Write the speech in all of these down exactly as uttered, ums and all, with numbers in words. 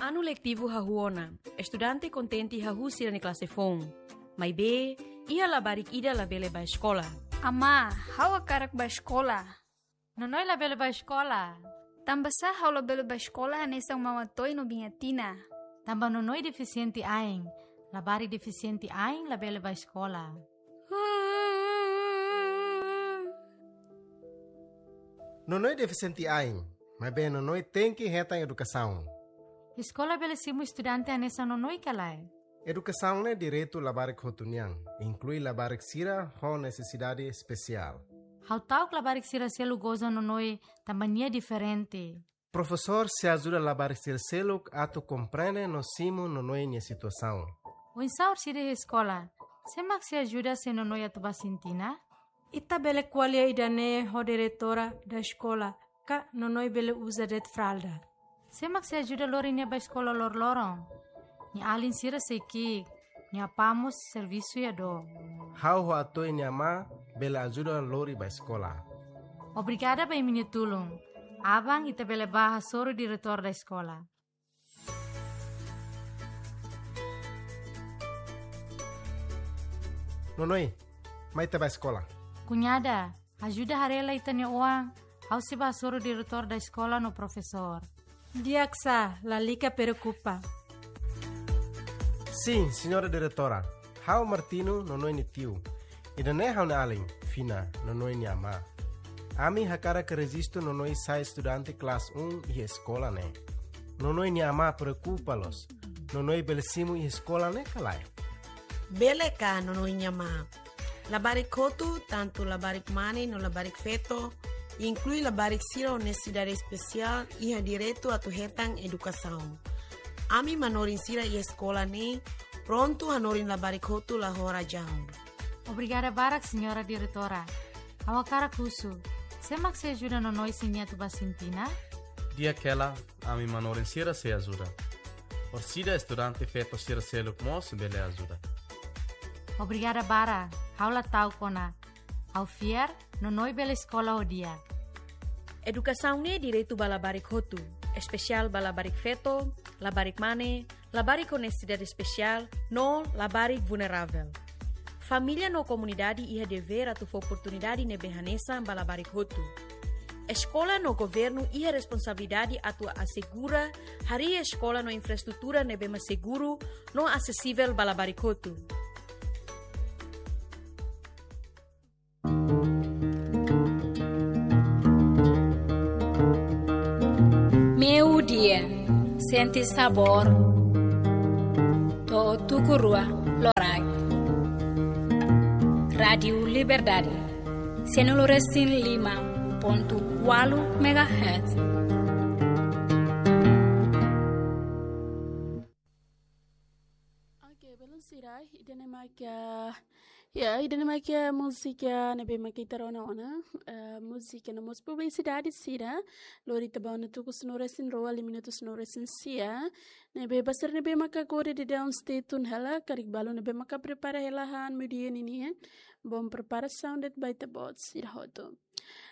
Anu letivu hahú ona, estudante kontente hahú sira-nia klase foun. Maibé, iha labarik ida labele bá eskola. Amá, ha'u hakarak bá eskola. Nonoi labele bá eskola. Tanbasá ha'u labele bá eskola hanesan Mama Toy no Biña Tina? Tanba Nonoi defisiente ain. Labarik defisiente ain labele bá eskola. Nonoi defisiente ain, maibé Nonoi tenke hetan edukasaun. Eskola bele simu estudante hanesan Nonoi ka lae? Edukasaun ne'e direitu labarik hotu nian, inklui labarik sira ho nesesidade espesiál. Ha'u ta'uk labarik sira seluk goza Nonoi tanba nia diferente. Profesór sei ajuda labarik sira seluk atu komprende no simu Nonoi nia situasaun. Oinsá orsida iha eskola, sé mak sei ajuda se Nonoi atu bá sintina? Ita bele ko'alia ida-ne'e ho diretora da eskola, ka Nonoi bele uza de'it fralda. Sé mak sei ajuda lori nia bá eskola loroloron? Nia alin sira sei ki'ik, nia apá mós servisu iha dook. Ha'u ho Atoy nia amá bele ajuda lori bá eskola. Obrigada ba imi-nia tulun. Aban ita bele bá hasoru diretór da eskola. Nonoi, mai ita bá eskola. Kuñada, ajuda haree lai ita-nia oan, ha'u sei bá hasoru diretór da eskola no profesór. Di'ak sá, lalika preokupa. Sin, señora diretora. Ha'u Martino, Nonoi nia tiu. Ida-ne'e ha'u-nia alin, Fina, Nonoi nia amá. Ami hakarak rejistu Nonoi sai estudante klase um iha eskola ne'e. Nonoi nia amá preokupa loos. Nonoi bele simu iha eskola ne'e ka lae? Bele ka, Nonoi nia amá? Labarik hotu, tantu labarik mane no labarik feto, inklui labarik sira ho nesesidade espesiál, iha direitu atu hetan edukasaun. Ami manorin sira iha eskola ne'e prontu hanorin labarik hotu la ho razaun. Obrigada barak, señora diretora. Ha'u hakarak husu, sé mak sei ajuda Nonoi se nia atu bá sintina? Di'ak hela, ami manorin sira sei ajuda. Orsida estudante feto sira seluk mós bele ajuda. Obrigada barak, ha'u la ta'uk ona. Ha'u fiar, Nonoi bele eskola ho di'ak. Edukasaun ne'e direitu ba labarik hotu, espesiál ba labarik feto, labarik mane, labarik ho nesesidade espesiál, no labarik vulneravel. Família no komunidade iha devér atu fó oportunidade ne'ebé hanesan ba labarik hotu. Eskola no governu iha responsabilidade atu asegura harii eskola no infraestrutura ne'ebé mak seguru no asesivel ba labarik hotu. Meiudia, sente sabór to'o tuku rua loraik. Rádiu Liberdade, sanulu resin lima pontu ualu megahertz. Oke, belun sira, ida-ne'e mak, ya, ida-ne'e mak múzika ne'ebé mak ita rona ona, eh, múzika no mós publisidade sira, lori ita ba ona tuku sanulu resin rua, liu minutu sanulu resin sia, ne'ebé ba sira ne'ebé maka agora daudaun stay tune hela, karik balu ne'ebé maka prepara hela han meiudia ninian, bom preparasaun de'it ba ita-boot sira hotu.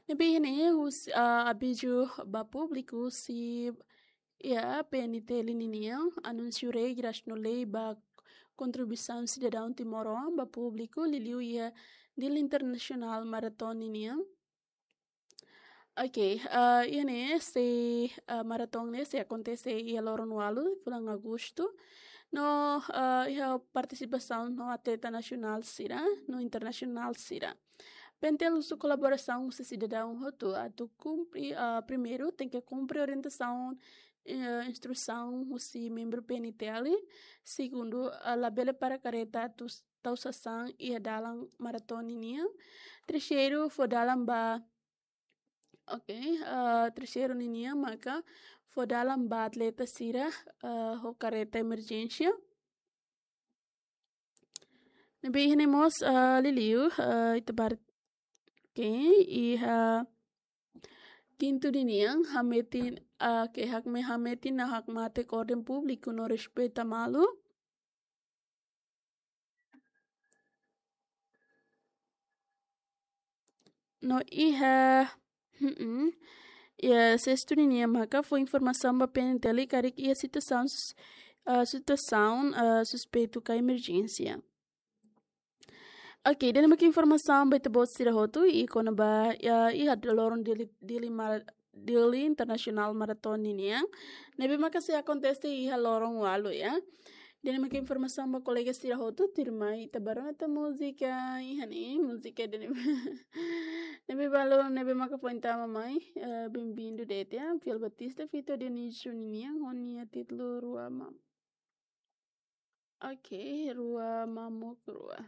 Ne'ebé ne'e husi, ah, avizu ba públiku husi, ya, P N T L ninian, anúnsiu regras no lei ba kontribuisaun sidadaun timoroan ba públiku, liuliu iha Dia Internasionál Maraton ninian. Oke, eh, iha ne'e sei, eh, maraton ne'e sei akontese iha loron ualu, fulan Agostu. No, eh, iha partisipasaun no atleta nasionál sira, no internasionál sira. P N T L husu kolaborasaun husi sidadaun hotu atu kumpre, ah, primeiru, tenke kumpre orientasaun, eh, instrusaun husi membru P N T L. Segundu, ah, labele para kareta atu s-, tau sasán iha dalan maraton ninian. Terseiru, fó dalan ba, oke, ah, terseiru ninian maka fó dalan ba atleta sira, ah, ho kareta emerjénsia. Ne'ebé iha ne'e mós, ah, liuliu, ah, ita bá haree, oke, iha kintu ninian, hametin, ah, ke hakme hametin no hakmatek orden públiku no respeita malu. No iha, mm-mm. iha sestu ninian maka fó informasaun ba P N T L karik iha situasaun sus- ah, situasaun ah, suspeitu ka emerjénsia. Ok, ida-ne'e maka informasaun ba ita-boot sira hotu, i kona-ba iha, iha loron Dili, Dili Mar- Dili International Marathon ninian, ne'ebé maka sei akontese iha loron ualu, ya. Ida-ne'e maka informasaun ba kolega sira hotu, tuirmai ita bá rona tan múzika iha ne'e, múzika ida-ne'e. Ne'ebé balu, ne'ebé maka foin tama mai, eh, bem-vindo de'it, ya. Fiel Batista, Vitor Dionísio ninian, ho nia títulu Rua Mam- Ok, Rua Mamuk Rua.